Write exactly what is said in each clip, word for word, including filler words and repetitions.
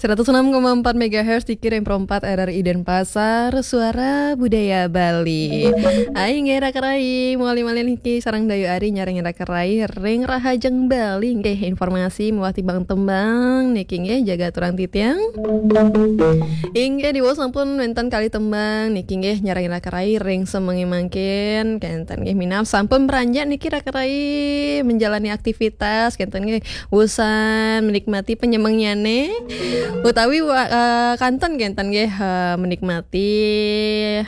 Seratus enam koma empat megahertz di kirim perempat R R I Denpasar, Suara Budaya Bali. Ai nggih raka rai, mawali malih niki sareng Dayu Ari nyarengin raka rai ring Rahajeng Bali nggih, informasi miwah tembang-tembang niki nggih, jaga aturang titiang. Inggih, diwau sampun wénten kalih tembang niki nggih, nyarengin raka rai ring semengé mangkin, kénten nggih, minab sampun beranjak niki raka rai menjalani aktivitas, kénten nggih, wusan menikmati penyemengnyane, utawi wa-, eh, kanten kénten nggih, eh, menikmati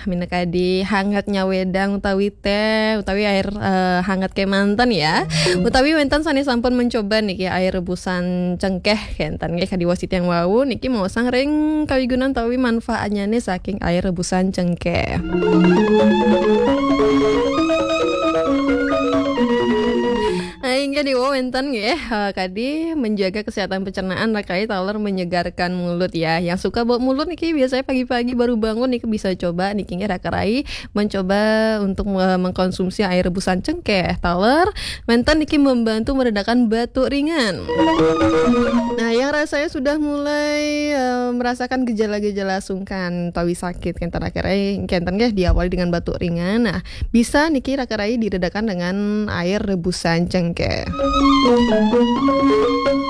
minakadi hangatnya wedang utawi téh, utawi air, eh, hangat kémanten ya. Utawi wénten sané sampun mencoba niki air rebusan cengkéh kénten nggih, kadi wau titiang wau niki maosang ring kawigunan utawi manfaatnyane saking air rebusan cengkéh. Nah, inggih diwau wénten nggih, eh, kadi menjaga kesehatan pencernaan raka rai taler menyegarkan mulut ya. Yang suka bau mulut niki biasanya pagi-pagi baru bangun niki bisa coba niki nggih raka rai mencoba untuk, eh, mengkonsumsi air rebusan cengkéh. Taler wénten niki membantu meredakan batuk ringan. Nah, yang rasanya sudah mulai, eh, merasakan gejala-gejala sungkan utawi sakit, kénten raka rai, kénten nggih diawali dengan batuk ringan. Nah, bisa niki raka rai diredakan dengan air rebusan cengkéh.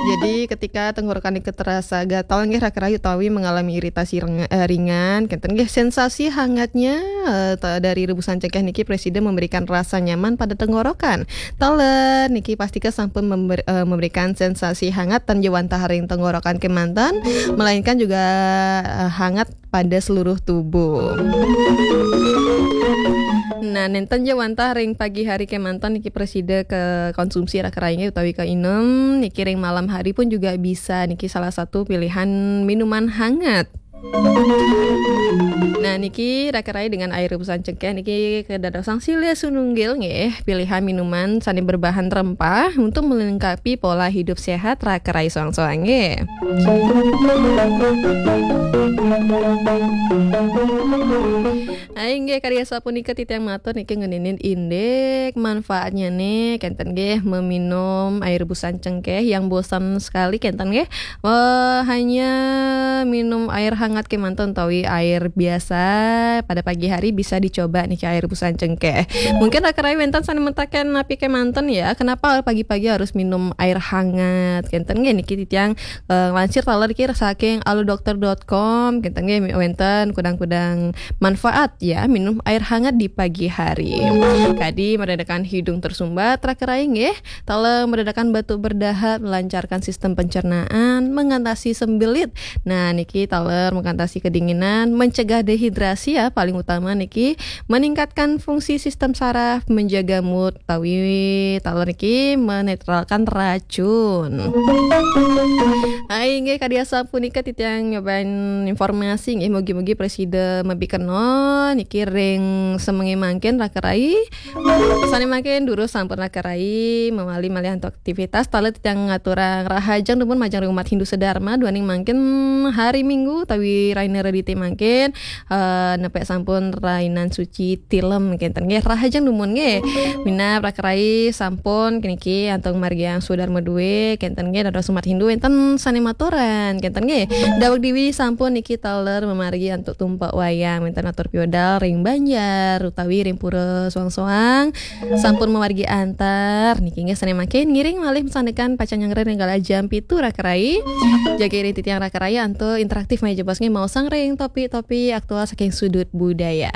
Jadi ketika tenggorokan niki terasa gatal nggih raka rai utawi mengalami iritasi reng-, eh, ringan, kénten nggih sensasi hangatnya, eh, ta-, dari rebusan cengkéh niki prasida memberikan rasa nyaman pada tenggorokan. Taler niki pastika sampun member-, eh, memberikan sensasi hangat tan jawantah ring tenggorokan kémanten, melainkan juga, eh, hangat pada seluruh tubuh. Nah, nénten jawantah ring pagi hari kémanten niki prasida konsumsi raka rai utawi kainem, niki ring malam hari pun juga bisa niki salah satu pilihan minuman hangat. Nah, niki raka rai dengan air rebusan cengkéh niki kadadosang silih sinunggil nggih, pilihan minuman sané berbahan rempah untuk melengkapi pola hidup sehat raka rai soang-soang nggih. Ai nggih, kadi asapunika titiang matur niki ngeninin indik manfaatnyane, kénten nggih, meminum air rebusan cengkéh yang bosan sekali, kénten nggih. Eh, hanya minum air hangat kémanten utawi air biasa pada pagi hari bisa dicoba niki air rebusan cengkéh. Mungkin raka rai wénten sané mataken napi kémanten ya, kenapa pagi-pagi harus minum air hangat? Kénten nggih niki titiang, eh, nglansir taler niki saking alodokter dot com, kénten nggih wénten kudang-kudang manfaat ya minum air hangat di pagi hari. Kadi meredakan hidung tersumbat raka rai nggih, taler meredakan batuk berdahak, melancarkan sistem pencernaan, mengatasi sembelit. Nah, niki taler mengatasi kedinginan, mencegah dehidrasi ya, paling utama niki meningkatkan fungsi sistem saraf, menjaga mood, utawi taler niki menetralkan racun. Hai, nggih kadi asapunika titiang nyobain informasi nggih, mugi-mugi prasida mapi kena niki ring semengé mangkin raka rai. Sané mangkin durus sampun raka rai mawali malih antuk aktivitas, taler titiang ngaturang rahajeng dumun majeng ring umat Hindu sedharma duaning mangkin hari Minggu utawi rahina Redité mangkin, eh, nepek sampun rainan suci tilem kénten nggih, rahajeng dumun nggih. Minab raka rai sampun niki antuk margiang swadarma duwé kénten nggih, dados umat Hindu wénten sané maturan kénten nggih. Daweg diwi sampun niki taler mamargi antuk tumpak wayang, wénten atur piwedal ring banjar utawi ring pura soang-soang. Sampun mamargi antar niki nggih, sané mangkin ngiring malih masandekan pacang nyanggra ring galah jam pitu raka rai. Jagi ring titiang raka rai antuk interaktif malih jebos nggih, maosang ring topik-topik aktual saking sudut budaya.